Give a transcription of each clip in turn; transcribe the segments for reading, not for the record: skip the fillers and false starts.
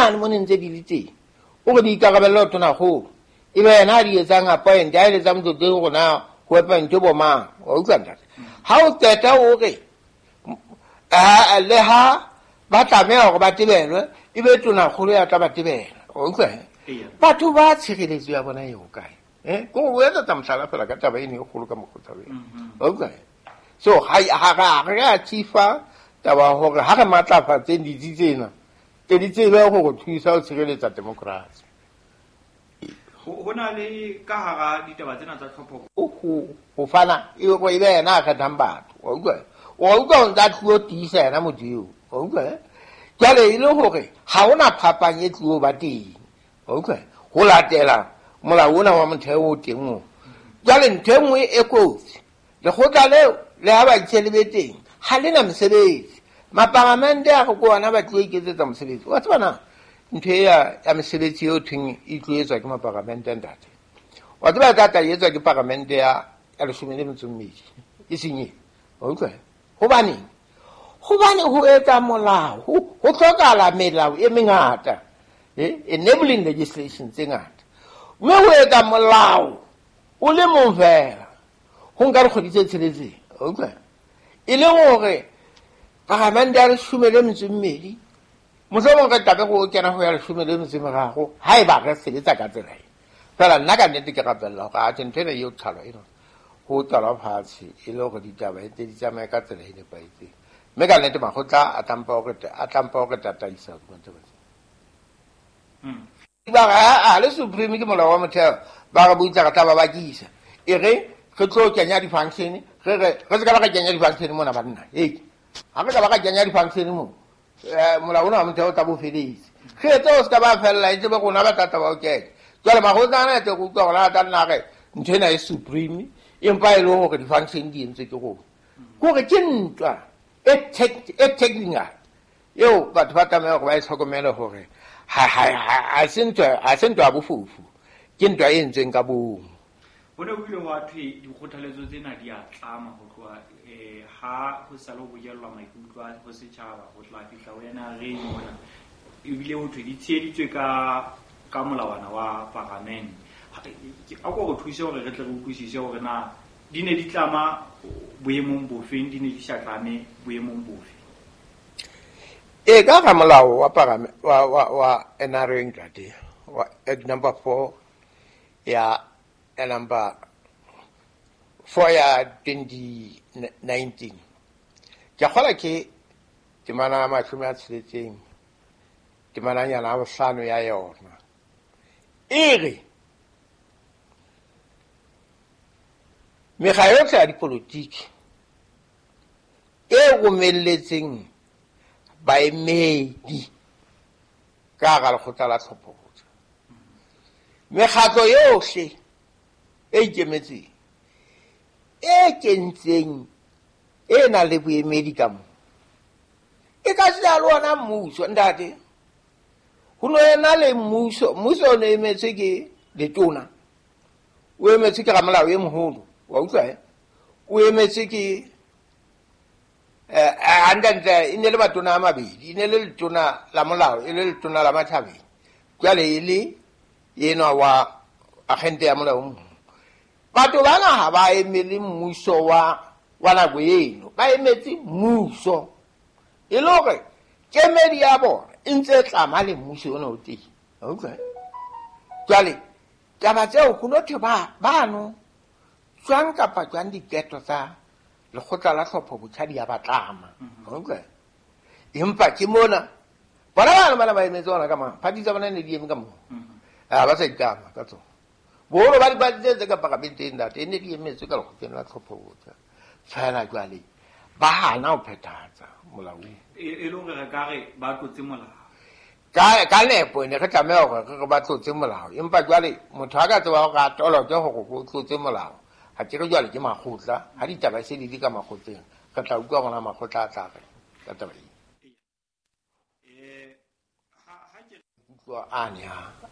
mane mo ne ntse di le teng o re di ikarabelle ho tonakgolo e be yena a di etsang appoint a eletsang motlotleng gore na ho appointe bo mang. Wa utlwa ntate? Ha o qeta o re le ha ba tlameha hore ba tebelwe e be tonakgolo ya tla ba tebela. Wa utlwa? Batho ba tshireletso ya bona e hokae? Ko o etsa mohlala fela ka taba eno e kgolo ka mokgotsa wena. Wa utlwa? So ha re a tsifa taba hore ha re matlafatseng ditsi tsena tse di tsebe go thusa ho tshireletsa democracy. Ho na le ka hara ditaba tsena tsa tlhopho ho fana e go e be yena a kgethang batho. Wa utlwa? Wa utlwa o ntsa tluo tiisa yena motho eo. Wa utlwa? Jwale e le hore ha hona phapang e tluo ba teng. Wa utlwa? Ho latela molao ona wa motheo o teng o. Jwale ntho e nngwe e kotsi, lekgotla leo le ha ba itse le be teng ha le na mosebetsi. Mapalamente a re ko ona ba tlo iketsetsa mosebetsi. Wa tseba na ntho e ya mesebetsi eo thweng e tlo etswa ke mapalamente ntate. Wa tseba e tla tla etswa ke palamente ya 12 e seng e. Wa utlwa? Hobaneng? Hobane ho etsa molao ho hlokahala melao e mengata, enabling legislation tse ngata. Mme ho etsa molao o le mong fela ho nka dikgwedi tse tsheletseng. Wa utlwa? E le hore palamente ya 12 mohlomong re tlabe go kena ho ya 13 ha eba re sebetsa ka tsela e. Fela nna ka nnete ke rapella hore atjhe ntho ena eo qhalwa ena ho qalwa fatshe e le hore ditaba e tse di tsamaye ka tsela e nepahetseng. Mme ka nnete makgotla a tlampa hore tataisa hodima taba tsena. Ba re a le supreme ke molao wa motheo, ba re butla re tla ba bakisa. E re re tlo kenya di-function, re se ka ba re kenya di-function mona banna. Ha re ka ba re kenya di-function mo, molao ona wa motheo o tla bo feletse. Re etse o se ka ba fella e tsebe rona ba tla tla ba o kenya. Jwale makgotla ana etse go utlwa gore a tla nna re ntho ena e supreme empa e le hore di-function di entswe ke rona. Ke hore ke ntwa e technical eo batho ba tlameha hore ba e tlhokomele hore ha se ntwa ya bofofu, ke ntwa e entsweng ka bomo. Ho ne ho ile hwa thwe dikgothaletso tsena di a tlama ho tloha ha ho sa le ho bokellwa maikutlo a ho setjhaba ho tla fihla ho yena re mona. Ebile ho thwe di tsheheditswe ka molawana wa paramente. A ko re thuse hore re tle re utlwisise hore na di ne di tlama boemong bofeng, di ne di sa tlame boemong bofe. E ka ga molao wa paramente wa NRA ntate wa Act number 4 ya number 4 ya 2019. Ke kgola ke temana ya 60 temananyana ya 5 ya yona. E re mekga yohle ya dipolotiki e romelletseng baemedi ka hara lekgotla la tlhopho-botjha, mekgatlo yohle e ikemetseng e kentseng e nang le boemedi ka moo e ka sena le ona mmuso. Ntate, ho no ena le mmuso, mmuso o ne emetswe ke letona, o emetswe ke ramolao e moholo. Wa utlwa? O emetswe ke hantle e ne le matona a mabedi, e ne le letona la molao, e le letona la matjhabeng, jwale e le enwa wa agente ya molao o moholo. Batho bana ha ba emele mmuso wa nako eno, ba emetse mmuso. E le hore kemedi ya bona e ntse e tlama le mmuso ona o teng. Wa utlwa? Jwale taba tseo ho no thwe bano jwang kapa jwang diqeto tsa lekgotla la tlhopho-botjha di a ba tlama. Wa utlwa? Empa ke mona bona bana bana ba emetse ona ka mang, party tsa bona ne di eme ka moo. Ha ba sa itlama ka tsona. Boholo ba dipati tse ka paramenteng ntate e ne di emetswe ka lekgotleng la tlhopho-botjha. Fela jwale ba hana ho phethahatsa molao. E le hore re ka re ba tlotse molao. Ka nepo ne re tlameha hore re ba tlotse molao. Empa jwale motho ha ka tseba hore a toloke hore o tlotse molao, ha ke re jwale ke makgotla, ha ditaba se di le ka makgotleng, re tla utlwa rona makgotla a tla re ka taba ena. Utlwa ane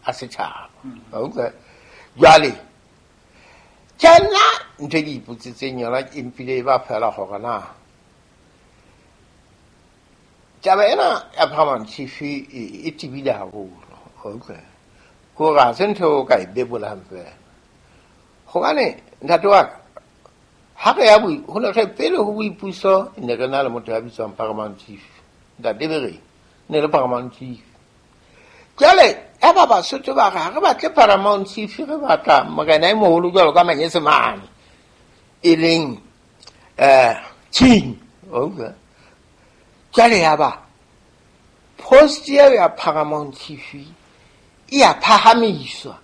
a setjhaba. Wa utlwa? Jwale ke nna ntho e ke ipotsitseng yona e mpile e ba fela hore na Taba ena ya paramount chief e tebile haholo, wa utlwa? Ke hore ha se ntho o ka e bebolang fela. Hobane ntate wa ka, ha re ya ho ne re pele ho boipuso ne re na le motho ya bitswang paramount chief. Ntate Bereng ne le paramount chief. Jwale ya ba Basotho ba re ha re batle paramount chief, re batla morena e moholo jwalo ka Manyesemane, e leng king. Wa utlwa? Jwale ya ba post eo ya paramount chief e ya phahamiswa,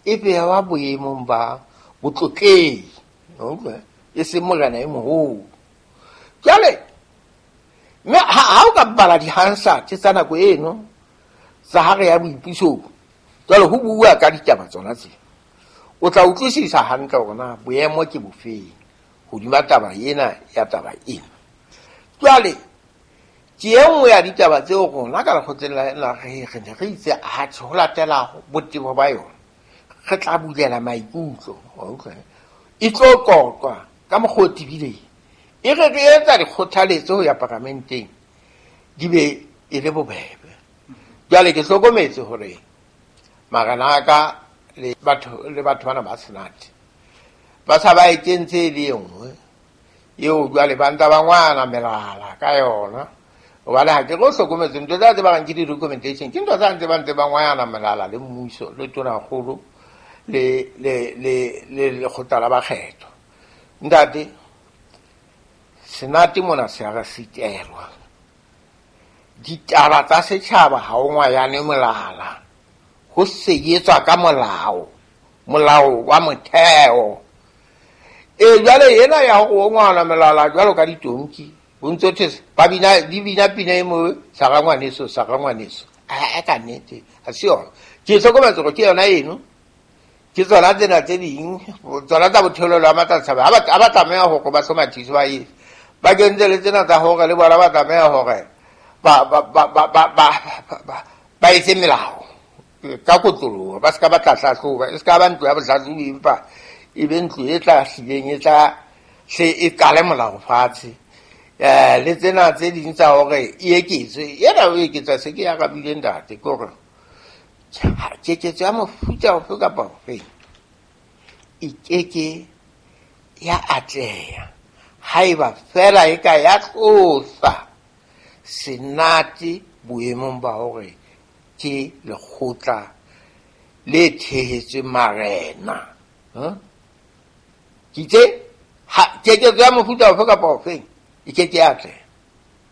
e bewa boemong ba botlotlehi, wa utlwa? E seng morena e moholo. Jwale mme ha o ka bala di-Hansard tsa nako eno tsa ha re ya boipusong, jwale ho bua ka ditaba tsona tse, o tla utlwisisa hantle hore na boemo ke bofeng hodima taba ena ya taba ena. Jwale ke e nngwe ya ditaba tseo rona ka lekgotleng la re ne re itse atjhe, ho latela botebo ba yona re tla bulela maikutlo, wa utlwa? E tlo qoqwa ka mokgwa o tebileng, e re re etsa dikgothaletso ho ya paramenteng di be e le bobebe. Jwale ke hlokometse hore marena a ka le batho bana ba Senate ba sa ba e kentse e le e nngwe eo, jwale ba ntse ba ngwana melala ka yona. Hobane ha ke re o hlokometse ntho tsa tse ba reng ke di-recommendation, ke ntho tsa ntse ba ntse ba ngwana melala le mmuso le tonakgolo le le le le lekgotla la bakgetho. Ntate, Senate mona se a re sitelwa. Ditaba tsa setjhaba ha o ngwayane molala, ho seyetswa ka molao, molao wa motheo. E jwale ena ya hore o ngwana melala jwalo ka ditonki, ho ntso thwe ba bina, di bina pina e nngwe, sara ngwaneso, sara ngwaneso. A ka nnete, ha se yona. Ke hlokometse hore ke yona eno, ke tsona tsena tse ding, tsona tsa botheolelo wa matlatshabe. Ha ba tlameha hore ba hlomathise ba etse. Ba kentse le tsena tsa hore le bona ba tlameha hore ba etse melao ka kotloloho, ba se ka ba tla hlahloba, e se ka ba ntlo ya bohlahlobi, empa e be ntlo e tla hlileng e tla hle e qale molao fatshe. Le tsena tse ding tsa hore e eketswe, ena o eketswa se ke ya arabile ntate, ke hore keketso ya mofuta ofe kapa ofe e keke ya atleha haeba fela e ka ya tlosa Senate boemong ba hore ke lekgotla le thehetsweng marena. Ke itse, keketso ya mofuta ofe kapa ofe e keke ya atleha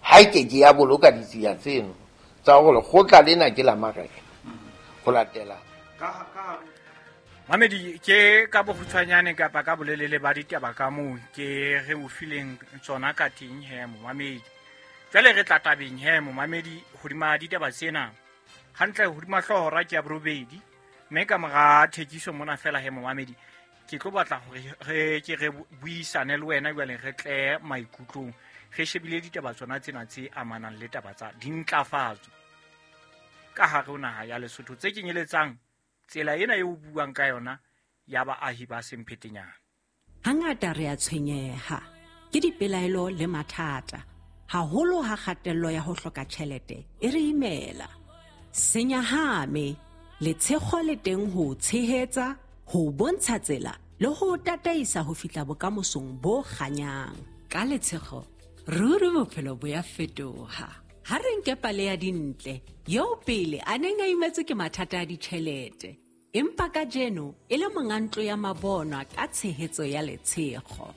ha e keke ya boloka ditsia tseno tsa hore lekgotla lena ke la marena ho latela. Mamedi, ke ka bokgutshwanyane kapa ka bolelele ba ditaba ka moo ke re o fileng tsona ka teng he momamedi. Jwale re tla tabeng he momamedi hodima ditaba tsena. Hantle hodima hlooho hora ke ya borobedi, mme ka mora thekiso mona fela he momamedi, ke tlo batla hore re ke re buisane le wena jwale re tle maikutlong. Re shebile ditaba tsona tsena tse amanang le taba tsa dintlafatso ka hare ho naha ya Lesotho tse kenyeletsang tsela ena eo buang ka yona ya baahi ba Semphetenyana. Hangata re a tshwenyeha ke dipelaelo le mathata, haholo ha kgatello ya ho hloka tjhelete e re imela. Senyahame, letshego le teng ho tshehetsa, ho bontsha tsela le ho tataisa ho fihla bokamosong bo kganyang. Ka letshego, ruri bophelo bo ya fetoha. Ha re nke pale ya Dintle, eo pele a neng a imetswe ke mathata a ditjhelete, empa kajeno e le monga ntlo ya mabonwa ka tshehetso ya letshego.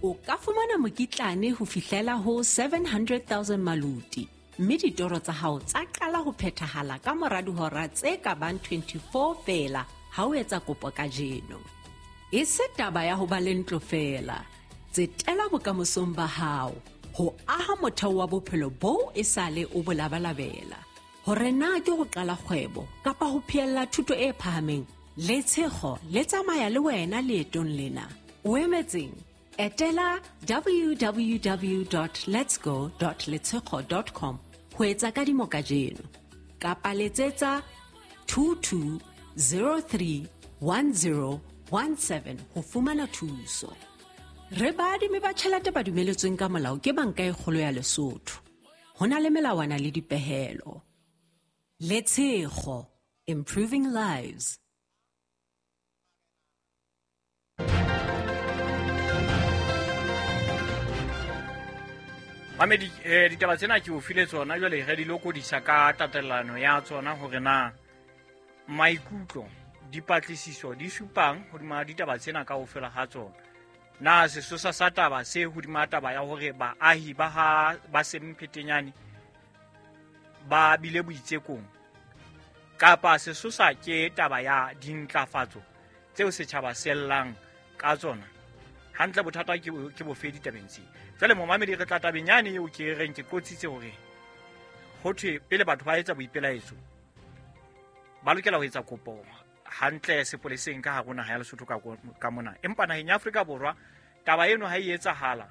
O ka fumana mokitlane ho fihlela ho 700,000 maluti, mme ditoro tsa hao tsa qala ho phethahala ka mora dihora tse ka bang 24 feela ha o etsa kopo kajeno. E se taba ya ho ba le ntlo feela, tsetela bokamosong ba hao, ho aha motheo wa bophelo boo e sale o bo labalabela. Hore na ke ho qala kgwebo kapa ho phehella thuto e phahameng, letshego le tsamaya le wena leetong lena. O emetseng? Etela www.letsgo.letshego.com ho etsa kadimo kajeno, kapa letsetsa 22031017 ho fumana thuso. Re baadimi ba tjhelete ba dumeletsweng ka molao ke Banka e Kgolo ya Lesotho. Ho na le melawana le dipehelo. Letshego, improving lives. Mamedi, ditaba tsena ke o file tsona, jwale re di lokodisa ka tatelano ya tsona hore na maikutlo, dipatlisiso di supang hodima ditaba tsena kaofela ha tsona. Na sesosa sa taba se hodima taba ya hore baahi ba ha ba Semphetenyane ba bile boitsekong, kapa sesosa ke taba ya dintlafatso tseo setjhaba se llang ka tsona? Hantle bothata ke bofe ditabeng tse? Jwale momamedi, re tla tabeng yane eo ke reng ke qotsitse hore ho thwe pele batho ba etsa boipelaetso ba lokela ho etsa kopo hantle sepoleseng ka hare ho naha ya Lesotho ka mona. Empa naheng ya Afrika Borwa taba eno ha e etsahala,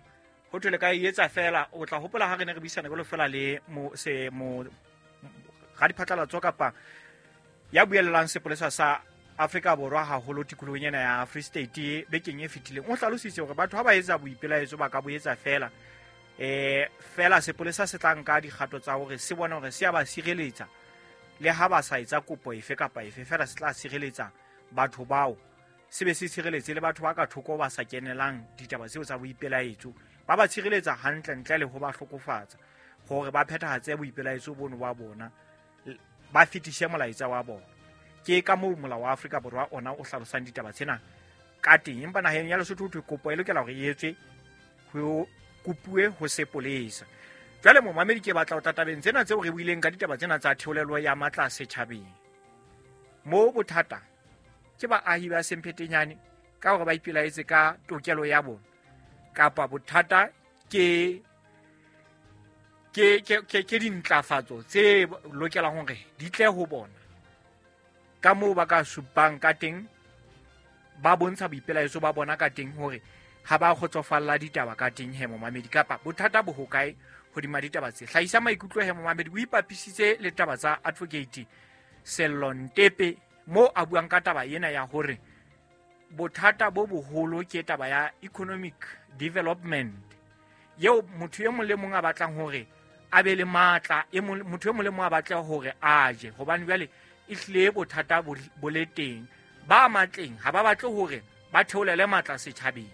ho thwe le ka e etsa fela. O tla hopola ha re ne re buisana jwalo fela le mo radiphatlalatso kapa ya buellang sepolesa sa Afrika Borwa haholo tikolohong ena ya Free State bekeng e fetileng, o hlalositse hore batho ha ba etsa boipelaetso ba ka bo etsa fela, fela sepolesa se tla nka dikgato tsa hore se bone hore se a ba sireletsa, le ha ba sa etsa kopo efe kapa efe, fela se tla sireletsa batho bao, se be se sireletse le batho ba ka thoko ba sa kenelang ditaba tseo tsa boipelaetso, ba ba tshireletsa hantle ntle le ho ba hlokofatsa, hore ba phethahatse boipelaetso bono ba bona, ba fetise molaetsa wa bona. Ke ka moo molao wa Afrika Borwa ona o hlalosang ditaba tsena ka teng. Empa naheng ya Lesotho ho thwe kopo e lokela hore e etswe, ho kopuwe ho sepolesa. Jwale momamedi, ke batla ho tla tabeng tsena tseo re buileng ka ditaba tsena tsa theolelo ya matla setjhabeng. Moo bothata ke baahi ba Semphetenyane ka hore ba ipelaetse ka tokelo ya bona, kapa bothata ke dintlafatso tse lokelang hore di tle ho bona, ka moo ba ka supang ka teng, ba bontsha boipelaetso ba bona ka teng hore ha ba kgotsofalla ditaba ka teng he momamedi, kapa bothata bo hokae hodima ditaba tse. Hlahisa maikutlo he momamedi, o ipapisitse le taba tsa Advocate Sello Ntepe mo a buang ka taba ena ya hore bothata bo boholo ke taba ya economic development, eo motho e mong le mong a batlang hore a be le matla, motho e mong le mong a batla hore a je, hobane jwale e hlile bothata bo le teng. Ba matleng ha ba batle hore ba theolele matla setjhabeng,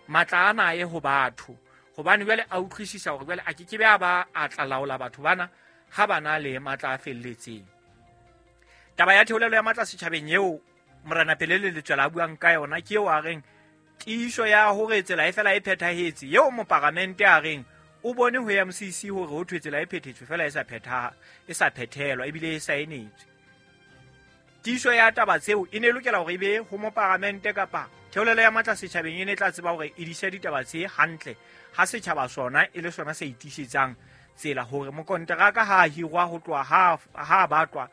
matla ana a ye ho batho, hobane jwale a utlwisisa hore jwale a ke ke be a ba a tla laola batho bana ha ba na le matla a felletseng. Taba ya theolelo ya matla setjhabeng eo Morena Pelele Letswela a buang ka yona ke eo a reng tiiso ya hore tsela e fela e phethahetse, eo moparamente a reng o bone ho MCC hore ho thwe tsela e phethetswe fela e sa phethelwa ebile e saenetswe. Tiiso ya taba tseo e ne lokela hore e be ho moparamente, kapa theolelo ya matla setjhabeng e ne tla tseba hore e dise ditaba tse hantle, ha setjhaba sona e le sona se itiisetsang tsela, hore mokonteraka ha a hirwa ho tloha ha batlwa,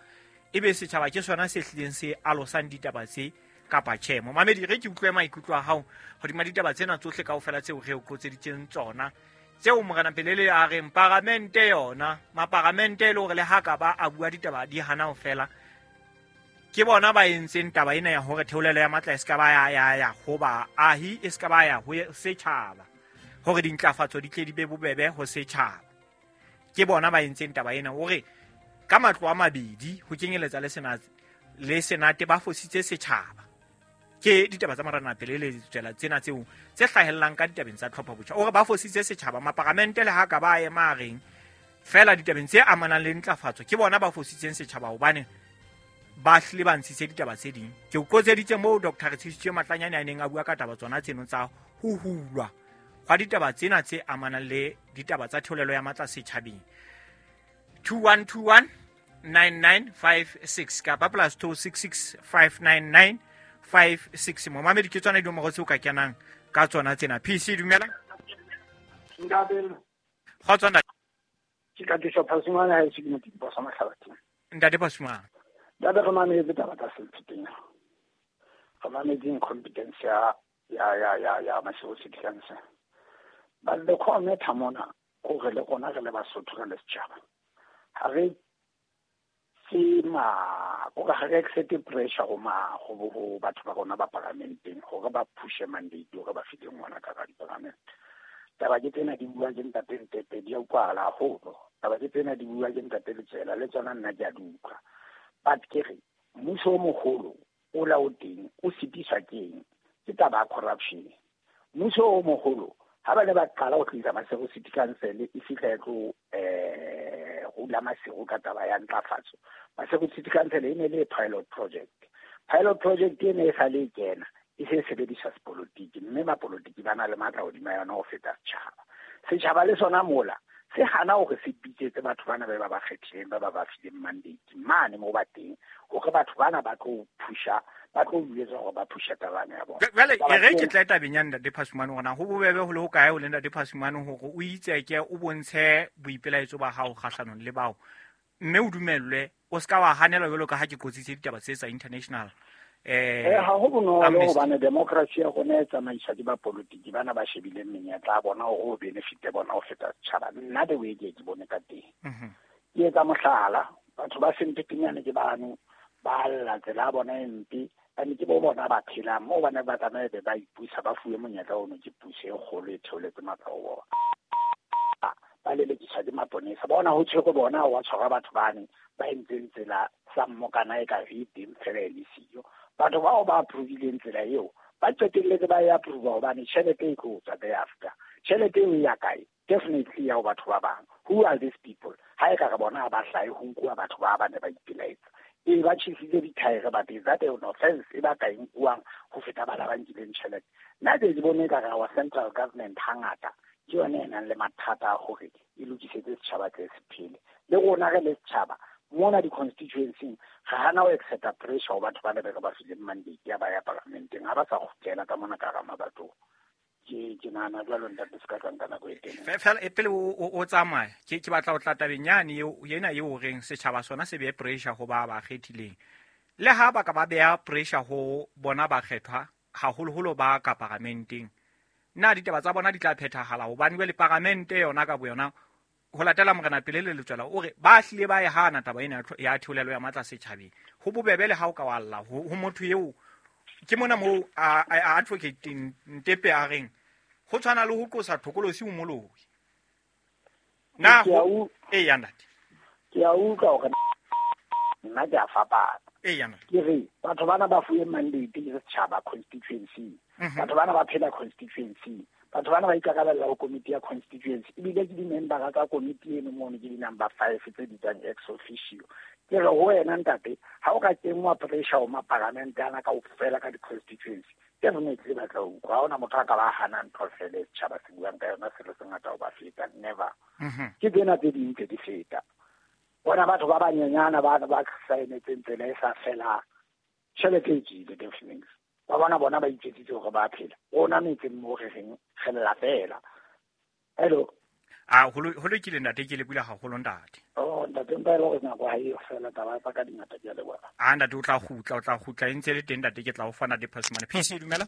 ebe setjhaba ke sona se hlileng se alosang ditaba tse kapa tjhe. Momamedi, re ke utlwe maikutlo a hao hodima ditaba tsena tsohle kaofela tseo re o qotseditseng tsona, tseo Morena Pelele a reng paramente yona, maparamente e le hore le ha ka ba a bua ditaba di hana ho fela, ke bona ba entseng taba ena ya hore theolelo ya matla e se ka ba ya ho baahi, e se ka ba ya ho setjhaba, hore dintlafatso di tle di be bobebe ho setjhaba. Ke bona ba entseng taba ena hore ka matlo a mabedi ho kenyeletsa le senate ba fositse setjhaba. Ke ditaba tsa Morena Pelele Letswela tsena tseo tse hlahellang ka ditabeng tsa tlhopho botjha, hore ba fositse setjhaba. Maparamente le ha ka ba ema a reng fela ditabeng tse amanang le ntlafatso ke bona ba fositseng setjhaba, hobane ba hlile ba ntshitse ditaba tse ding. Ke o qotseditse moo Dr. Retsheditswe Matlanyane a neng a bua ka taba tsona tseno tsa ho hulwa hwa ditaba tsena tse amanang le ditaba tsa theolelo ya matla setjhabeng. 2121 9956 kapa plus 266 599 56. Momamedi, ke tsona dinomoro tseo ka kenang ka tsona tsena. PC, dumela. Ntate. Kgotso ntate. Ke ka tisa Phasumane ha e se ke motho sa Mahlabatheng. Ntate Phasumane. Ntate, re mametse taba tsa Sempheteng. Re mametse incompetence ya Maseru City Council. But the core matter mona hore le rona re le Basotho re le setjhaba, ha re tsema kore ha re accept pressure ho batho ba rona ba paramenteng hore ba pushe mandate hore ba fihle ngwana ka diparamente. Taba ke tsena di bua ke ntate Ntepe, di a utlwahala haholo. Taba ke tsena di bua ke ntate Letswela le tsona nna ke a di utlwa. But ke re mmuso o mogolo o la o teng o sitiswa ke eng? Ke taba ya corruption. Mmuso o mogolo ha ba ne ba qala ho tlisa Maseru City Council e fihla e tlo rula Maseru ka taba ya ntlafatso. Maseru City Council e ne le pilot project. Pilot project e ne e sa le e kena e se sebediswa sepolotiki, mme mapolotiki ba na le matla hodima yona ho feta setjhaba. Setjhaba le sona mola se hana hore se bitsetse batho bana ba ba kgethileng, ba fileng mandate mane moo ba teng, hore batho bana ba tlo phusha, ba tlo jwetsa hore ba phusha taba ya bona. Jwale e re ke tla tabeng ya ntate Phasumane hore na ho bobebe ho le ho kae ho le ntate Phasumane hore o itseke o bontshe boipelaetso ba hao kgahlanong le bao, mme o dumellwe, o ska wa hanelwa jwalo ka ha ke qotsitse ditaba tse tsa international. Ha ho bonolo hobane democracy ya rona e tsamaiswa ke bapolitiki bana ba shebileng menyetla ya bona hore o benefite bona ho feta setjhaba. Nna the way ke bone ka teng. Ke etsa mohlala, batho ba Sempepenyane ke bano ba lla tsela ya bona e mpe, ane ke bo bona ba phelang moo, ba ne ba tsamaye be ba ipusa, ba fuwe monyetla ono ke puso e kgolo e theoletse matla ho bona. Ba lelekiswa ke maponesa, bona ho tshwere bona wa tshwara batho bane ba entseng tsela sa mmokana e ka e teng fela e le siyo. Batho bao ba approve-ileng tsela eo ba qetelletse ba e approve hobane tjhelete e tlo tswa thereafter. Tjhelete eo e ya kae? Definitely ya ho batho ba bang. Who are these people? Ha e ka re bona ha ba hlahe ho nkuwa batho ba ba ne ba ipelaetsa. E ba tjhesitse dithaere, but is that an offense e ba ka e nkuwang ho feta ba ba nkileng tjhelete? Nna ke bone ka re our central government hangata ke yone e nang le mathata a hore e lokisetse setjhaba tse se phele. Le rona re le setjhaba mona di-constituency ga hana ho accepta pressure ho batho ba le ba fileng mandate ya ba ya parlamenteng, ha ba sa kgutlela ka mona ka hara mabatong. Ke nahana jwalo ntate, se ka tlang ka nako e telele. Fela pele o tsamaya, ke batla ho tla tabeng yane eo, ena eo o reng setjhaba sona se behe pressure ho ba ba kgethileng. Le ha ba ka ba beha pressure ho bona ba kgethwa, haholoholo ba ka paramenteng, na ditaba tsa bona di tla phethahala? Hobane jwale paramente yona ka boyona, ho latela Morena Pele le Letswela, o re ba hlile ba e hana taba ena ya theolelo ya matla setjhabeng. Ho bobebe le ha o ka wa lla ho motho eo. Ke mona moo a advocate Ntepe a reng ho tshwana le ho qosa thokolosi o moloi. Na ho e ya ntate? Ke a utlwa hore nna ke a fapana. E ya ntate. Ke re batho bana ba fuwe mandate ke setjhaba constituency. Batho bana ba phela constituency. Batho bana ba ikarabella ho komiti ya constituency, ebile ke di-membera tsa komiti eno mono ke di-number 5 tse bitswang ex officio. Ke re ho wena ntate, ha o ka kenngwa pressure ho maparamente ana kaofela ka di-constituency, definitely ba tla utlwa. Ha hona motho a ka ba hana ntho fela e setjhaba se buang ka yona, selo se ngata ho ba feta, never. Ke tsena tse ding tse di feta. Bona batho ba banyenyana ba ba saenetseng tsela e sa felang, tjhelete e tswile definitely. Ba bona ba iketsitse hore ba phela. Rona metseng moo re reng re lla fela. Hello. A ho lokile ntate, ke le bula haholo ntate. Oh ntate, mpa e le hore nako ha eyo fela, taba tsa ka di ngata, ke a leboha. A ntate o tla kgutla, e ntse le teng ntate, ke tla o fa ntate Phasumane. PC dumela.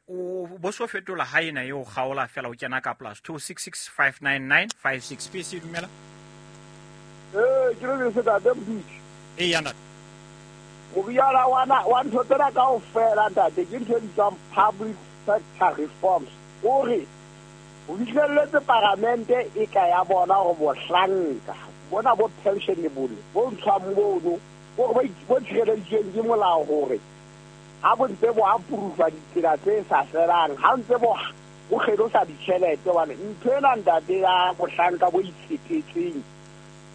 O bo so fetola ha ena eo kgaola fela o kena ka plus 26659956. PC dumela. Ke le se ntate Mdutshi. E ya ntate. Moriana wa ntho tsena kaofela ntate, ke ntho e bitswang public sector reforms. O re o fihlelletse paramente e ka ya bona hore bohlanka bona bo pensionable bo ntshwang mono, bo tshireleditsweng ke molao hore ha bo ntse bo approve ditsela tse sa felang, ha ntse bo kgelosa ditjhelete. Hobane ntho ena ntate ya bohlanka bo itshepetseng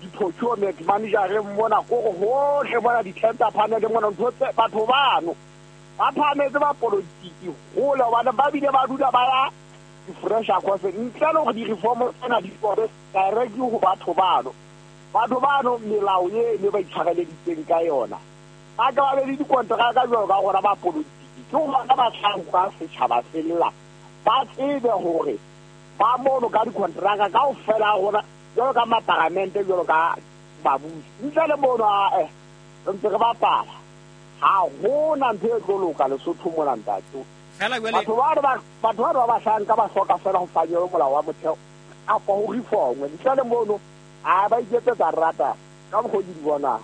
di-procurement manager mona kore hohle mona di-tender panel mona, ntho tse batho bano ba phahametse ba politiki hole, hobane ba bile ba dula ba ya di-fresher course ntle le hore di-reform tsena di tswe direct ho batho bano. Batho bano melao eno ba itshwareleditseng ka yona, ba ka ba be le dikonteraka jwalo ka rona ba politiki. Ke hona ba tla utlwa setjhaba se lla, ba tsebe hore ba mono ka dikonteraka kaofela rona jwalo ka maparamente, jwalo ka babusi. Ntle le mono re ntse re bapala, ha hona ntho e tlo loka Lesotho mona ntate. Batho ba bahlanka ba hloka fela ho fanyelwa molao wa motheo kapa ho reformwe. Ntle le mono a ba iketsetsa rata ka mokgwa ke di bonang.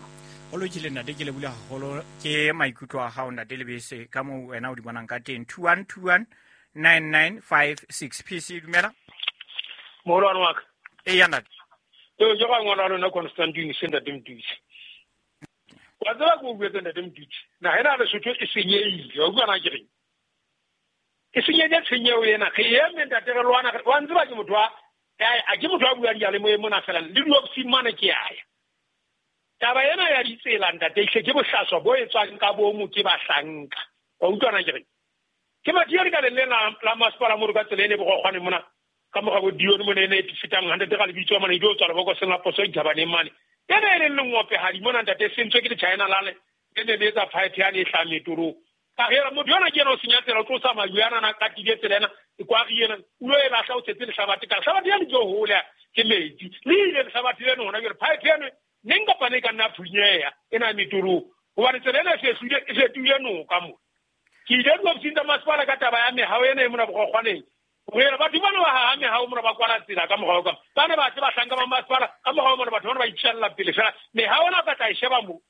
Ho lokile ntate, ke lebohile haholo ke maikutlo a hao ntate Lebese ka moo wena o di bonang ka teng. 21219956. PC dumela. Moholwane wa ka. Eya ntate. Eo ke ga ngwana wa lona Constantine se ntate Mdutsi. Wa tseba ke o buetse ntate Mdutsi. Naha ena ya Lesotho e senyehile. Wa utlwa na ke reng? E senyehile tshenyeho ena. Re eme ntate re lwana. Wa ntseba ke motho wa a ke motho a buang diyalemoyeng mona fela. Le diofising mane ke a ya. Taba ena ya ditsela ntate ehlile ke bohlaswa bo etswang ka bomo ke bahlanka. Wa utlwa na ke reng? Ke mathiya le ka leng la masepala mo re ka tsela ene bogogwane mona. Ka moga bo Dione mona ene e fetang 100 ga lebitso mona e dio tswa lebokoseng la poso dithabaneng mane. Ene e leng lengopehadi mona ntate sentswe ke le-China lale e ne le etsa pipe yane e hlahang metorong. Ka re motho yona ke yena o senya tsela o tlosa majwe ana na katile tsela ena e kwari ena o lo e lahla o tshetse lehlabathe ka lehlabathe ya le tlo hola ke metsi le ile lehlabathe leno hona jwale pipe eno neng kapa neng e ka nna phunyeha ena metorong hobane tsela ena e fetohile noka mo. Ke ile diofising tsa masepala ka taba ya mehao ena e mona bogogwaneng. Re batho bana ba haha mehao mona ba kwala tsela ka morao ka ba ne ba tle bahlanka ba masepala ka morao mona batho bana ba itjhella pele fela mehao ena ka tla e sheba mo.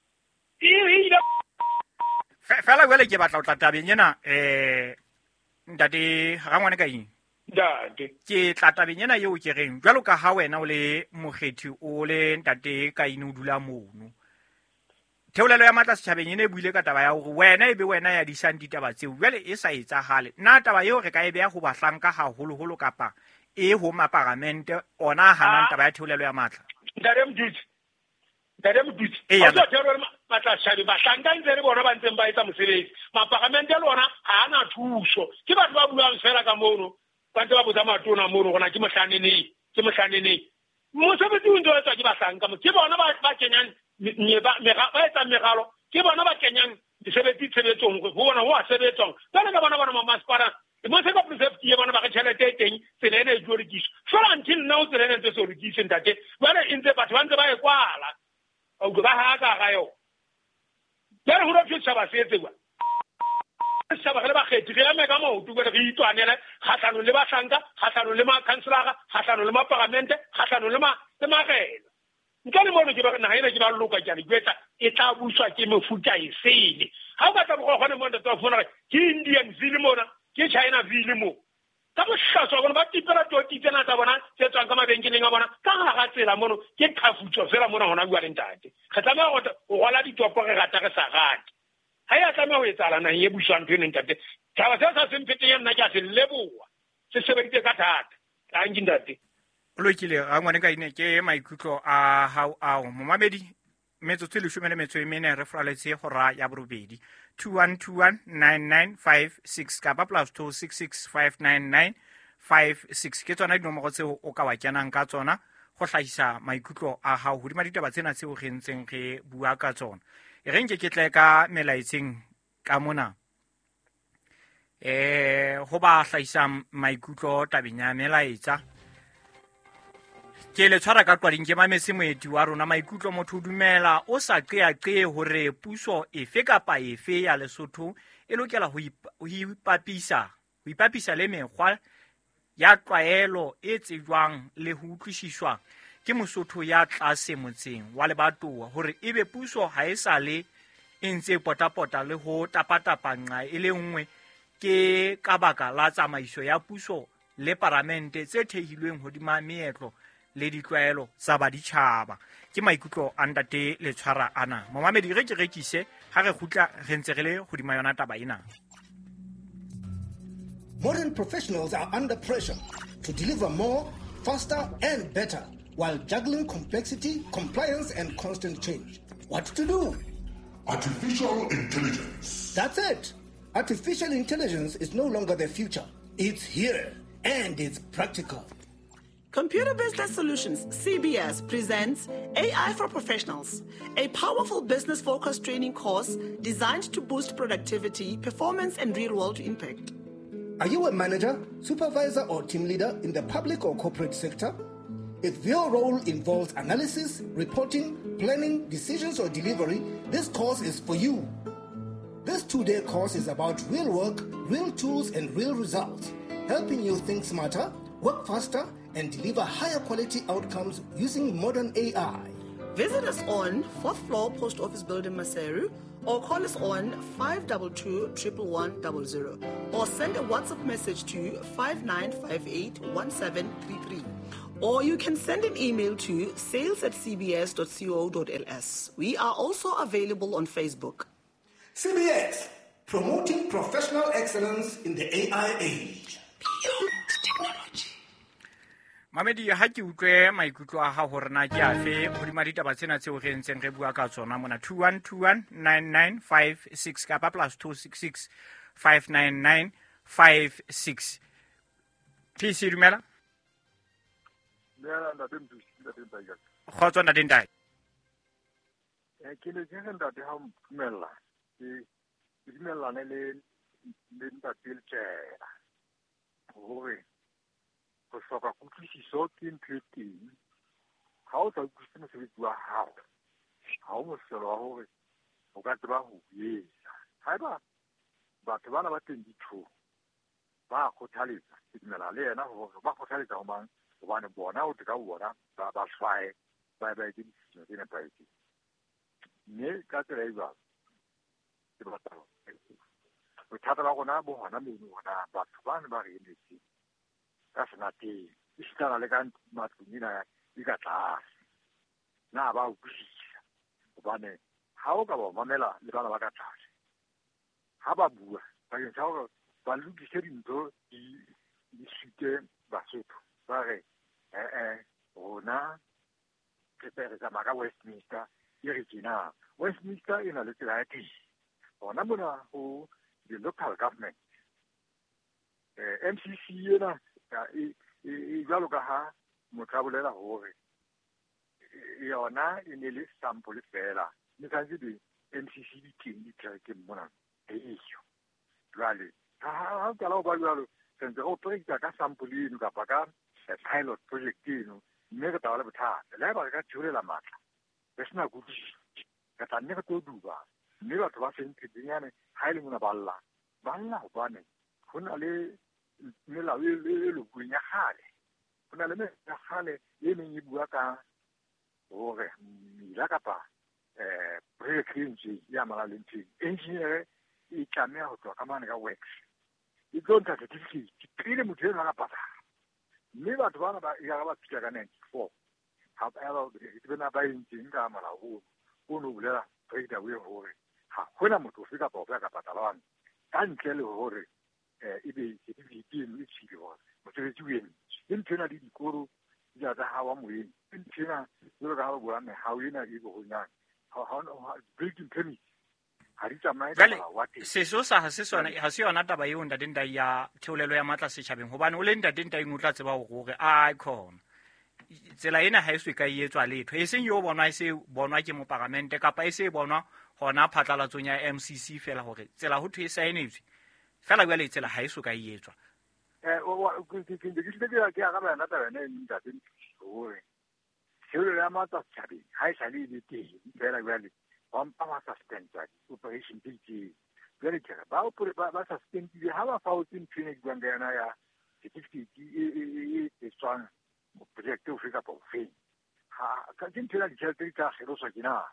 E ile fela jwale ke batla ho tla tabeng ena ntate Rangwane ka eng? Ntate. Ke tla tabeng ena eo ke reng jwalo ka ha wena o le mokgethi o le ntate Kaine o dula mono. Theolelo ya matla setjhabeng ene e buile ka taba ya hore wena e be wena ya disang ditaba tseo jwale e sa etsahale. Nna taba eo re ka e beha ho bahlanka haholoholo kapa e ho maparamente ona a hanang taba ya theolelo ya matla. Ntate Mdutsi. Ntate Mdutsi. Ha o theolelo matla setjhabeng bahlanka ntse le bona ba ntseng ba etsa mosebetsi. Maparamente le ona ha ana thuso. Ke batho ba buang fela ka mono. Ba ntse ba botsa matona mono hore na ke mohlaneneng, ke mohlaneneng. Mosebetsi o ntse o etswa ke bahlanka mo. Ke bona ba kenyang ba etsang meralo ke bona ba kenyang mesebetsi tshebetsong ho bona ho a sebetswang jwale ka bona masepala mo se ka prefect ye bona ba re tjhelete e teng tsela ena e tlo lokiswa fela until now tsela ena e ntse so lokiswe ntate jwale e ntse batho ba ntse ba e kwala a utlwa ba ha ka ga yona jwale ho thwe setjhaba se etse jwang setjhaba re le bakgethi re eme ka maoto jwale re itwanele kgahlanong le bahlanka kgahlanong le makhanselara kgahlanong le maparamente kgahlanong le marena. Ntle le mono ke ba naha ena ke ba loka ke a le jwetsa e tla buswa ke mefuta e sele. Ha o ka tla bogogwane mo ntate wa fumana hore ke Indian ville mona ke China ville mo. Ka bohlaswa bona ba tipela toti tsena tsa bona tse tswang ka mabenkeleng a bona ka hara tsela mono ke qhafutso fela mona hona jwale ntate. Re tlameha ho rwala ditopo re rata re sa rate. Ha ya tlameha ho etsahala naheng e buswang ntho eno ntate. Taba seo sa semphete nna ke a se leboha. Se sebeditse ka thata. Thank you ntate. O lokile Rangwane ka ine ke maikutlo a hao ao momamedi metsotso e 14 re fraletse hora ya borobedi 21219956 kapa +26659956 ke tsona dinomoro tseo o ka wa kenang ka tsona go hlahisa maikutlo a hao hodima ditaba tsena tseo re ntseng re bua ka tsona. E re nke ke tle ka melaetseng ka mona ho ba hlahisang maikutlo tabeng ya melaetsa. Ke le tshwara ka qwading ke mametse moeti wa rona maikutlo motho o dumela o sa qeaqee hore puso efe kapa efe ya Lesotho e lokela ho ipapisa le mekgwa ya tlwaelo e tsejwang le ho utlwisiswa ke Mosotho ya tlase motseng wa lebatowa hore ebe puso ha e sa le e ntse potapota le ho tapatapa nqa e le nngwe ke ka baka la tsamaiso ya puso le paramente tse thehilweng hodima meetlo le ditlwaelo tsa baditjhaba. Ke maikutlo a ntate le tshwara ana. Momamedi re ke rekise ha re kgutla re ntse re le hodima yona taba ena. Modern professionals are under pressure to deliver more, faster and better while juggling complexity, compliance and constant change. What to do? Artificial intelligence. That's it. Artificial intelligence is no longer the future. It's here and it's practical. Computer Business Solutions, CBS, presents AI for Professionals, a powerful business-focused training course designed to boost productivity, performance, and real-world impact. Are you a manager, supervisor, or team leader in the public or corporate sector? If your role involves analysis, reporting, planning, decisions, or delivery, this course is for you. This 2-day course is about real work, real tools, and real results, helping you think smarter, work faster, and deliver higher quality outcomes using modern AI. Visit us on 4th floor Post Office Building, Maseru, or call us on 522 11100 or send a WhatsApp message to 5958 1733. Or you can send an email to sales@cbs.co.ls. We are also available on Facebook. CBS, promoting professional excellence in the AI age. Beyond technology. Mamedi, ha ke utlwe maikutlo a hao hore na ke afe hodima ditaba tsena tseo re ntseng re bua ka tsona mona 21219956 kapa +266 59956. PC, dumela. Dumela, ntate Mthusi, ntate Ntai. Kgotso, ntate Ntai. Ke ne ke re, ntate, ha o ntumella, ke dumellane le ntate Letshela hore ho hloka kutlwisiso ke ntho e teng. Ha o sa utlwisise mosebetsi wa hao, ha o mohlolo wa hore o ka tseba ho etsa. Haeba batho bana ba 22 ba kgothaletsa, ke dumela le yena hore ba kgothaletsa ho mang, hobane bona o ka bona ba hlwae, ba etse ditshisinyo tse nepahetseng. Mme ka tsela e jwalo, ke batla bothata ba rona bo hona mono, hona batho bane ba re emetseng ka senateng, esitana le ka matlong ena e ka tlase, na ba utlwisisa. Hobane ha o ka ba mamela le bana ba ka tlase, ha ba bua bakeng sa hore ba lokise dintho di sute Basotho, ba re rona re tsamaya ka Westminster, e re tjena Westminster e na le tsela ya teng. Hona mona ho the local government, MCC ena e jwalo ka ha motho a bolela hore yona e ne le sample fela, mme tshwanetse be MCC di teng dikerekeng mona eyo. Jwale ha o qala ho ba jwalo, re ntse re operate ka sample eno kapa ka pilot project eno, mme re tla ba le bothata. Le haeba re ka theolela matla re sena kutlwisiso, re tla nne re tlo duba, mme batho ba seng phetenyane ha e le mona ba lla hobane ho na le melao e lokuweng ya kgale. Ho na le melao ya kgale e neng e bua ka hore mmila kapa project e ntseng e amanang le ntho eno, engineer e tlameha ho tloha ka mane ka works, e tlo ntsha certificate pele motho eno a ka patala. Mme batho bana ba ya ba fihla ka 94, ha ba ba entseng ka molao ono, o no bolela straight away hore ha hona motho ofe kapa ofe a ka patalwang ka ntle le hore ebe certificate eno e tshile hore mosebetsi o entswe. Ke ntho ena le dikolo di tsa hawa moyeng, ke ntho ena jwalo ka ha ba bua mehao ena e bohonyane, building permit ha di tsamaye ka molao wa teng. Sesosa ha se sona, ha se yona taba eo ntate Ntai ya theolelo ya matla setjhabeng, hobane o le ntate Ntai o tla tseba hore a khona tsela ena ha e so ka e etswa letho, e seng yo bonwa, e se bonwa ke moparamente kapa e se bonwa hona phatlalatsong ya MCC fela hore tsela ho thwe e saenetswe fela, jwale tsela ha e so ka e etswa. Ke araba yona taba ena e ntate hore theolelo ya matla setjhabeng ha e sale e le teng fela, jwale ba mpa ba suspenda di-operation tse itseng. Jwale ke re ba suspendile ha ba faotse ntho ena ke buang ka yona ya certificate e etswang project ofe kapa ofeng. Ke ntho ena ditjhelete di tla kgeloswa ke na,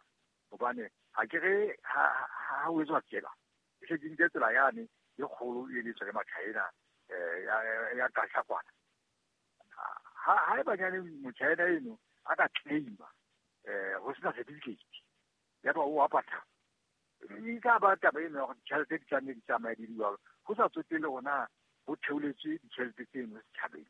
hobane ha ke re ha o etswa tsela, e se ke nke tsela yane e kgolo e le tswa ke Machina ya Kasha kwana. Ha e banyane Mochina eno a ka claima ho sena certificate, ya ba o a patala, e tla ba taba eno ya hore ditjhelete di tla nne di tsamaye di le jwalo, ho sa tsotelle hore ho theoletswe ditjhelete tseno setjhabeng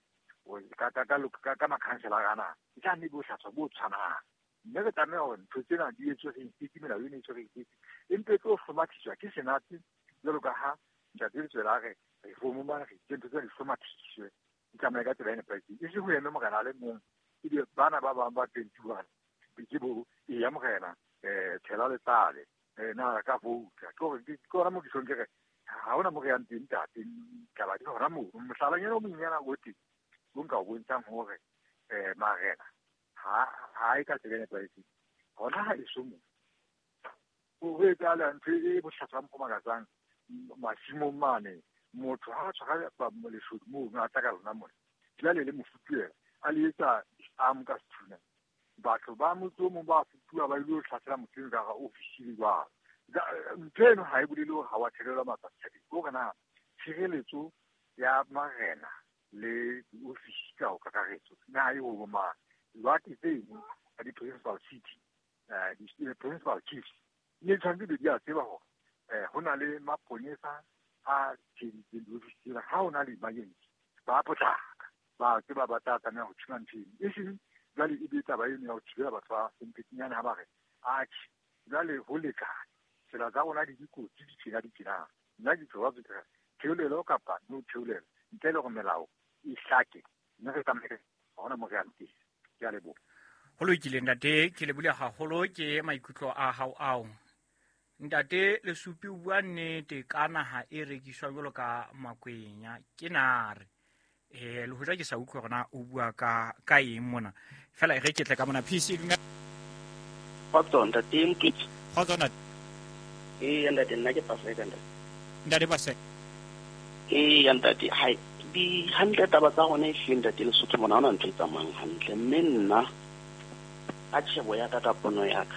ka makhanselara ana, e tla nne bohlaswa bo tshwanang. Mme re tlameha hore ntho tsena di etswe re itse, melao eno e etswe re itse, empa e tlo hlomathiswa ke Senate jwalo ka ha ntate Letshwele a re reform mane, re itse ntho tsena di hlomathiswe di tsamaye ka tsela e nepahetseng, e se ho eme morena a le mong, ebe bana ba bang ba 21 ke bo e ya morena tshela letsale na ka vouta. Ke hore ke hona mo ke tjhong ke re ha hona mo re yang teng ntate, taba di hona moo. Mohlalanyana o monyenyana o teng o nka o bontshang hore marena ha e ka tsela e nepahetseng, hona ha eso mo ho etsahala ntho e bohlaswa bo makatsang masimong mane. Motho ha a tshwara leshodu mono a tla ka lona mona, jwale le mofutuela a le etsa disarm ka sethunya, batho ba motse o mong ba nkuwa ba ile ho hlasela motho eno ka hara ofisi le jwalo. Ntho eno ha e bolele hore ha wa thelelwa matla setjhabeng, ke hore na tshireletso ya marena le diofisi ka ho kakaretso na e ho bo mang. Jwale tseno tsa di-principal city, di-principal chiefs ne tshwanetse be di a tseba hore ho na le maponesa a tsheheditseng diofisi tsena. Ha ho na le emergency ba potlaka, ba tseba ba tla tlameha ho thiba ntho eno, e seng jwale e be taba eno ya ho thibela batho ba sempetsinyane ha ba re atjhe jwale ho lekane, tsela tsa rona di dikotsi di tjena di tjena. Nna ke tlo ba ke theolelo kapa no theolelo ntle le hore melao e hlake, mme re tsamaye ha hona mo re yang teng. Ke a leboha. Ho lokile ntate, ke lebile haholo ke maikutlo a hao ao. Ntate Lesupi o bua nnete ka naha e rekiswa jwalo ka makwenya ke nare. Le hoja ke sa utlwe hore na o bua ka eng mona. Fela e re ke tle ka mona PC dumela. Kgotso ntate Mtutsi. Kgotso ntate. Ee ntate, nna ke Paseka ntate. Ntate Paseka. Ee ntate, hai di hantle taba tsa rona e hlile ntate Lesotho mona ha hona ntho e tsamayang hantle, mme nna ka tjhebo ya ka, ka pono ya ka,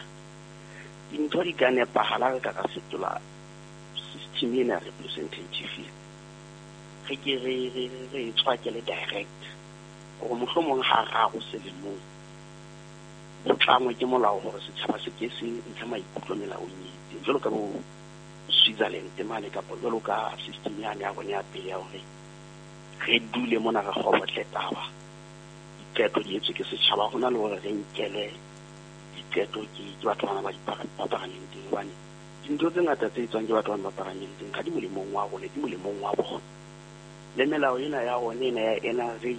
dintho di ka nepahala re ka ra fetola system ena ya representative, re ke re re re e tswakele direct hore mohlomong ha raro selemong ho tlangwe ke molao hore setjhaba se ke se ntshe maikutlo melaong e itseng, jwalo ka bo Switzerland mane, kapa jwalo ka system yane ya rona ya pele ya hore re dule mona re kgobotle taba, diqeto di etswe ke setjhaba, hona le hore re nkelwe diqeto ke batho bana ba ba paramenteng, hobane dintho tse ngata tse etswang ke batho bana ba paramenteng ha di molemong wa rona, di molemong wa bona. Le melao ena ya rona ena ya NRA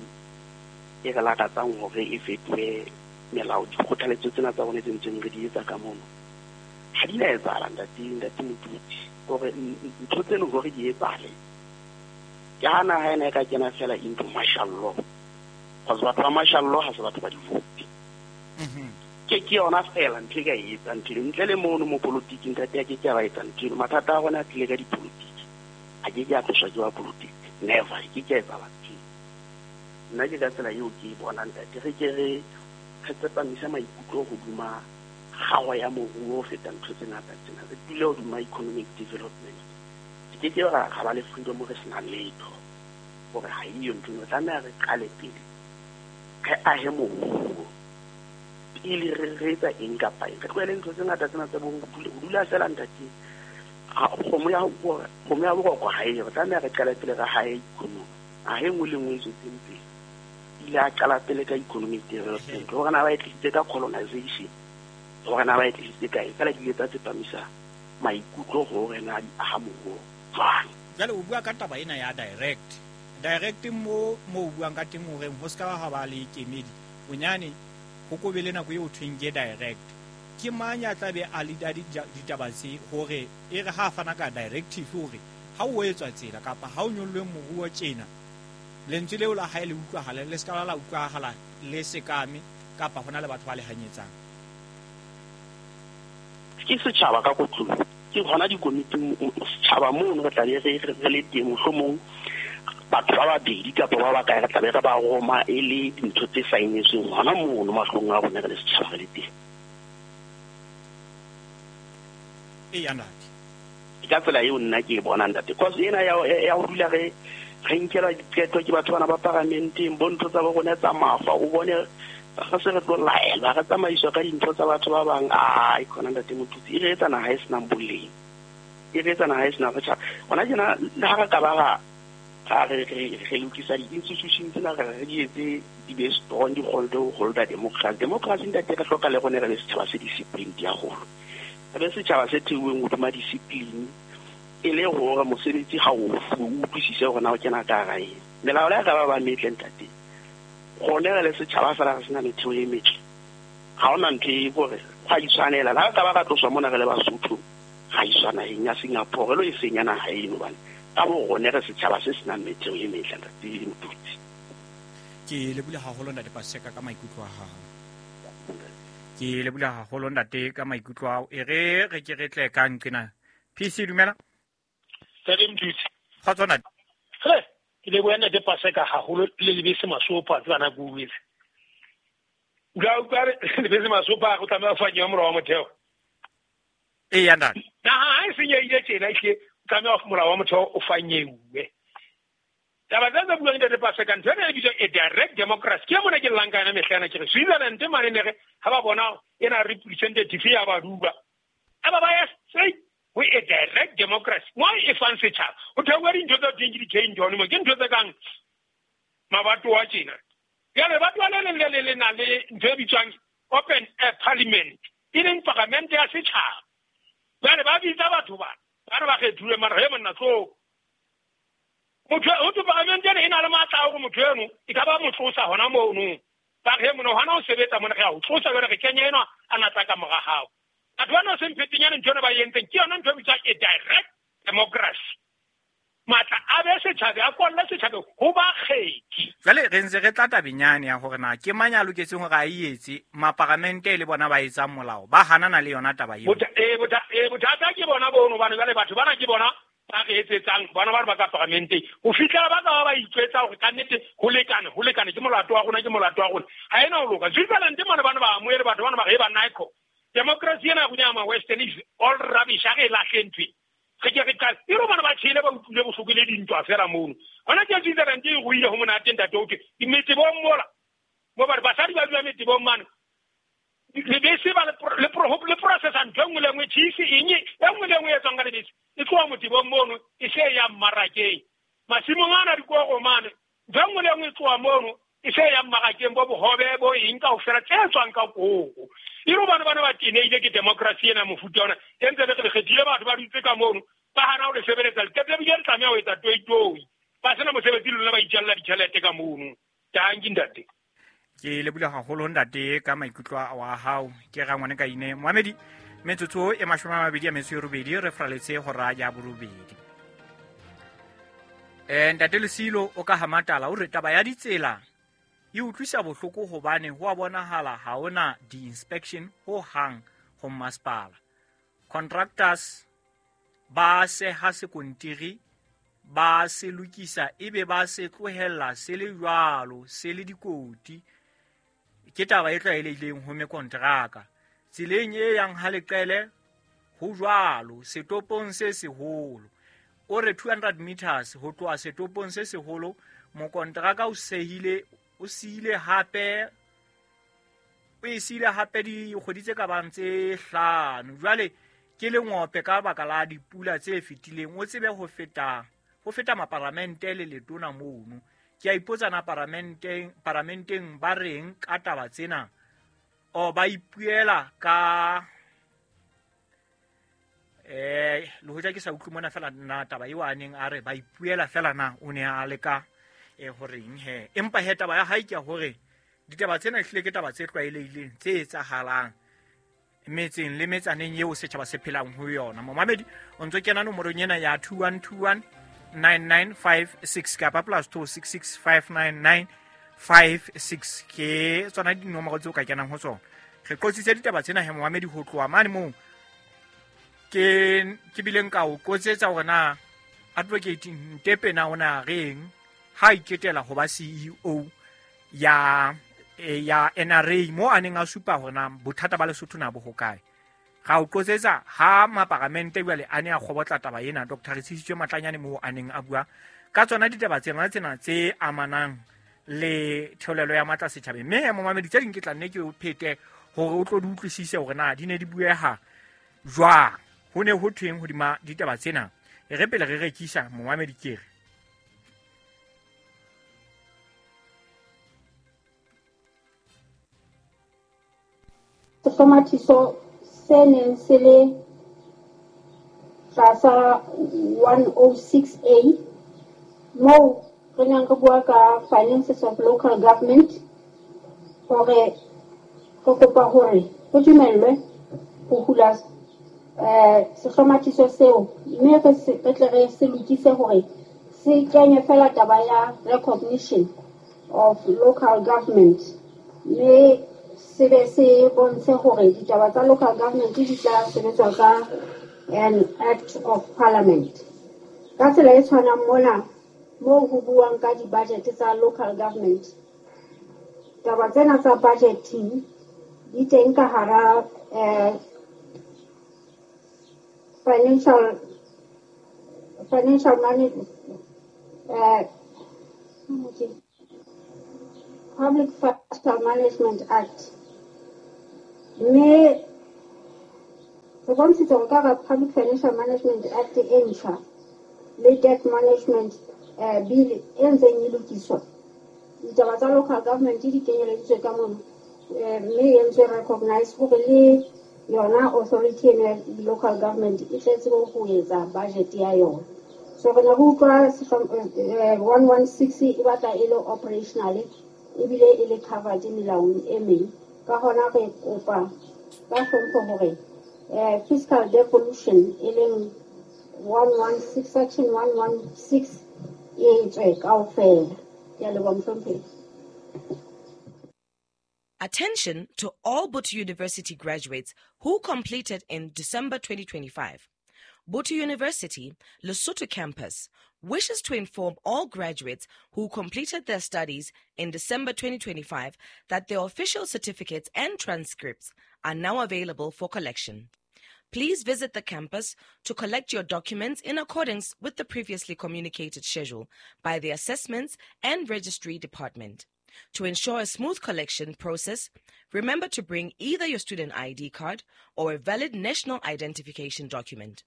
e re lakatsang hore e fetohe melao, dikgothaletso tsena tsa rona tse ntseng re di etsa ka mono ha di na etsahala ntate Motutsi, hore ntho tseno hore di etsahale ke ha naha ena e ka kena fela into martial law, cause batho ba martial law ha se batho ba di-vote. Ke yona fela ntho e ka e etsang ntho eno, ntle le mono mo politiking ntate a ke ke a ba etsa ntho eno. Mathata a rona a tlile ka dipolotiki, a ke ke a tloswa ke ba politiki, never, e ke ke a etsahala ntho eno. Nna ke ka tsela eo ke e bonang ntate, re ke re tsepamise maikutlo hodima kgaho ya moruo ho feta ntho tse ngata tsena, re dule hodima economic development. Re ke ke ra ba le freedom re sena letho, hore ha eyo ntho eno. Re tlameha re qale pele re ahe moruo pele re etsa eng kapa eng, re tlohele ntho tse ngata tsena tsa bo ho dula fela ntate. Kgomo ya boroko ha eyo, re tlameha re qale pele re hae economy. Naha e nngwe le nngwe e tswetseng pele ile a qala pele ka economic development, hore na ba e tlisitse ka colonization, hore na ba e tlisitse kae, fela di ile tsa tsepamisa maikutlo hore na di aha moruo jwang. Jwale o bua ka taba ena ya direct. Direct mo o buang ka teng horeng ho ska ha ba le kemedi, bonyane ho ko be le nako eo thweng ke direct. Ke mang ya tla be a leader ditaba tse hore e re ha fana ka directive hore ha o etswa tsela kapa ha o nyollwe moruo tjena, lentswe leo la hae le utlwahala, le ska la utlwahala le sekame kapa hona le batho ba le hanyetsang. Ke setjhaba ka kotloloho, ke hona dikomiting setjhaba mono re tla be re le teng, mohlomong batho ba babedi kapa ba bakae re tla be re ba roma e le dintho tse saenetsweng hona mono mahlong a rona re le setjhaba re le teng. Eya ntate, ke ka tsela eo nna ke e bonang ntate, cause ena ya ho dula re nkelwa diqeto ke batho bana ba paramenteng, bo ntho tsa bo rona tsa mafa, o bone re se re tlo laelwa, re tsamaiswa ka dintho tsa batho ba bang. Ai khona ntate Motutsi, e re etsa naha e senang boleng, e re etsa naha e senang setjhaba. Hona tjena le ha re ka ba ra re lokisa di-institution tsena, re di etse di be strong, di kgone ho holda democracy. Democracy ntate re hloka le rona re be setjhaba se discipline haholo, re be setjhaba se theuweng hodima discipline, e le hore mosebetsi ha o fuwe o utlwisise hore na o kena ka hara eng. Melao le ha e ka ba ba metle ntate, rona re le setjhaba fela re sena metheo e metle, ha hona ntho e hore gwa itshwanela. Le ha re ka ba ra tloswa mona re le Basotho, ra iswa naheng ya Singapore, re lo e senya naha eno, hobane ka bo rona re setjhaba se senang metheo e metle ntate Motutsi. Ke lebile haholo ntate Paseka ka maikutlo a hao. Ke lebile haholo ntate ka maikutlo ao. E re re ke re tle ka nqena. PC dumela. Ntate Motutsi. Kgotso ntate. Ke leboha ntate Paseka haholo le lebese masopa tsana ke utlwetse. Utlwa utlwa lebese masopa go tlameha ho fanyewa molao wa motheo. Eya ntate. Naha ha e senyehile tjena ehlile o tlameha molao wa motheo o fanyeuwe. Taba tse tse buang ntate Paseka, ntho ena e bitswang a direct democracy. Ke mona ke llang ka yona mehla ena ke re Switzerland mane ne re ha ba bona ena representative ya baduba. Aba ba ya straight ho a direct democracy. Mo e fang setjhaba. Ho theoha dintho tsa teng ke di-change hone mo. Ke ntho tse kang mabatowa tjena. Jwale lebatowa le leng le le le na le ntho e bitswang open air parliament, e leng paramente ya setjhaba. Jwale ba bitsa batho bana, ba re ba kgethilwe mara he monna tlo. Motho ho thwe paramente ena e na le matla a hore motho eno e ka ba mo tlosa hona mono. Ba re he monna hona o sebetsa mona re a o tlosa jwale re kenya enwa a natla ka mora hao. Batho bana o semphetenyane ntho ena ba e entseng ke yona ntho e bitswang a direct democracy. Matla a be setjhabe a kolle setjhabe ho bakgethi. Jwale re ntse re tla tabeng yane ya hore na ke mang ya loketseng hore a e etse, maparamente le bona ba etsang molao ba hanana le yona taba eo. Bothata ke bona bono hobane jwale batho bana ke bona ba re etsetsang bona ba re ba ka paramenteng ho fihlela ba ka ba ba itjwetsa hore kannete ho lekane ke molato wa rona ke molato wa rona. Ha ena ho loka. Switzerland mane bana ba amohele batho bana ba re ba Nike. Democracy ena ya rona ya ma Western is all rubbish, ha re e lahle ntho e. Re ke re qale e rona ba tshele ba utlwile bohloko le dintwa fela mono. Hona ke Switzerland e ruile ho monate ntate o thwe metebong mola. Mo ba re basadi ba dula metebong mane. Lebese ba le processa ntho e nngwe le nngwe, cheese eng e nngwe le nngwe e etswang ka lebese e tloha motebong mono e se e yang mmarakeng. Masimong ana dikoro mane ntho e nngwe le nngwe e tloha mono e se e yang mmarakeng, bo bohobe bo eng kaofela tse tswang ka koro. E re bana ba tenehile ke democracy ena mofuta ona e ntse re kgethile batho ba dutse ka mono ba hana ho le sebeletsa le ebile re tlameha ho etsa toitoi ba sena mosebetsi le lona ba itjalla ditjhelete ka mono. Tanki ntate. Ke lebula haholo ntate ka maikutlo wa hao. Ke rangwane ka ine Mohamedi metsotso e 28 re fraletse hora ya borobedi. Ntate Lesilo o ka Hamatala o re taba ya ditsela e utlwisa bohloko hobane ho a bonahala ha ona di-inspection ho hang ho masepala. Contractors ba seha sekontiri ba se lokisa ebe ba se tlohella se le jwalo se le dikoti. Ke taba e tlwaelehileng ho mekontraka. Tseleng e yang ha leqele ho jwalo setopong se seholo. O re 200 meters ho tloha setopong se seholo mokontraka o sehile o siile hape o e siile hape dikgwedi tse ka bang tse 5. Jwale ke lengope ka baka la dipula tse fetileng o tsebe ho feta maparamente le letona mono. Ke a ipotsa na paramenteng ba reng ka taba tsena o ba ipuela ka le hoja ke sa utlwe mona fela na taba eo a neng a re ba ipuela fela na o ne a leka horeng he. Empa he taba ya hae ke hore ditaba tsena ehlile ke taba tse tlwaelehileng tse etsahalang metseng le metsaneng eo setjhaba se phelang ho yona. Momamedi o ntso kena nomorong ena ya 2121 9956 kapa +266 599 56 ke tsona dinomoro tseo ka kenang ho tsona. Re qotsitse ditaba tsena he momamedi ho tloha mane moo ke bileng ka o qotsetsa hore na Advocate Ntepe na ona reng ha iketela ho ba CEO ya NRA mo a neng a supa hore na bothata ba Lesotho na bo hokae. Ga o qotsetsa ha maparamente jwale a ne a kgobotla taba ena Dr. Retsisitswe Matlanyane mo a neng a bua ka tsona ditaba tsena tse amanang le theolelo ya matla setjhabeng. Mme ya momamedi tse ding ke tla nne ke o phete hore o tlo di utlwisise hore na di ne di bueha jwang, ho ne ho thweng hodima ditaba tsena. E re pele re rekisa momamedi ke re sehlomathiso se neng se le tlasa 106A moo re neng re bua ka finances of local government hore re kopa hore ho dumellwe ho hula sehlomathiso seo mme re tle re se lokise hore se kenye fela taba ya recognition of local government mme se be se bontshe hore ditaba tsa local government di tla sebetswa ka an act of parliament. Ka tsela e tshwanang mona moo ho buang ka di-budget tsa local government Taba tsena tsa budgeting di teng ka hara financial management, Public Financial Management Act. Mme re bontshitse hore ka hara Public Financial Management Act e ntjha le Debt Management Bill e ntseng e lokiswa, ditaba tsa local government di kenyeleditswe ka mono, mme e entswe recognize hore le yona authority eno ya local government e tle tsebe ho etsa budget ya yona. So re ne re utlwa 116 e batla e le operational ebile e le covered melaong e meng. Ka hona re kopa ka hlompho hore fiscal devolution e leng 116 section 116 e tswe kaofela. Ke a leboha mohlomphehi. Attention to all Botho University graduates who completed in December 2025. Botho University, Lesotho campus, wishes to inform all graduates who completed their studies in December 2025 that their official certificates and transcripts are now available for collection. Please visit the campus to collect your documents in accordance with the previously communicated schedule by the Assessments and Registry Department. To ensure a smooth collection process, remember to bring either your student ID card or a valid national identification document.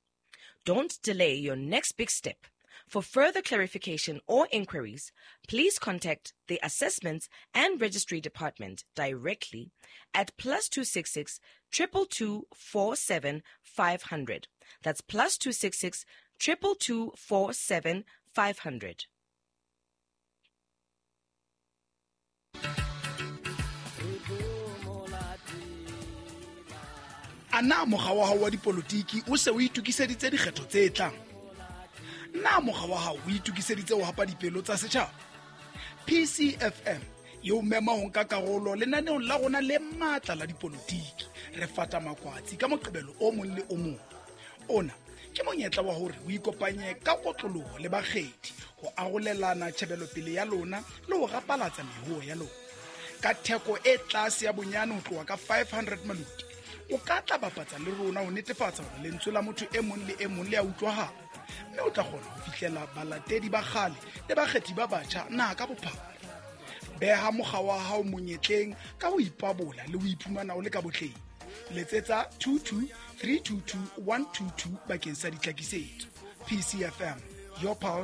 Don't delay your next big step. For further clarification or inquiries, please contact the Assessments and Registry Department directly at +266 222 47 500. That's +266 222 47 500. A na mokga wa hao wa dipolotiki o se o itokiseditse dikgetho tse tlang? Na mokga wa hao o itokiseditse ho hapa dipelo tsa setjhaba? PCFM e o mema ho nka karolo lenaneong la rona le matla la dipolotiki. Re fata makwatsi ka Moqebelo o mong le o mong. Ona ke monyetla wa hore o ikopanye ka kotloloho le bakgethi ho arolelana tjhebelopele ya lona le ho rapalatsa mehuo ya lona. Ka theko e tlase ya bonyane ho tloha ka 500 maluti, o ka tla bapatsa le rona ho netefatsa hore lentswe la motho e mong le e mong le a utlwahala, mme o tla kgona ho fihlela balatedi ba kgale le bakgethi ba batjha naha ka bophara. Beha mokga wa hao monyetleng ka ho ipabola le ho iphumana o le ka botleng. Letsetsa 22 322 122 bakeng sa ditlhakisetso. PCFM, your pulse.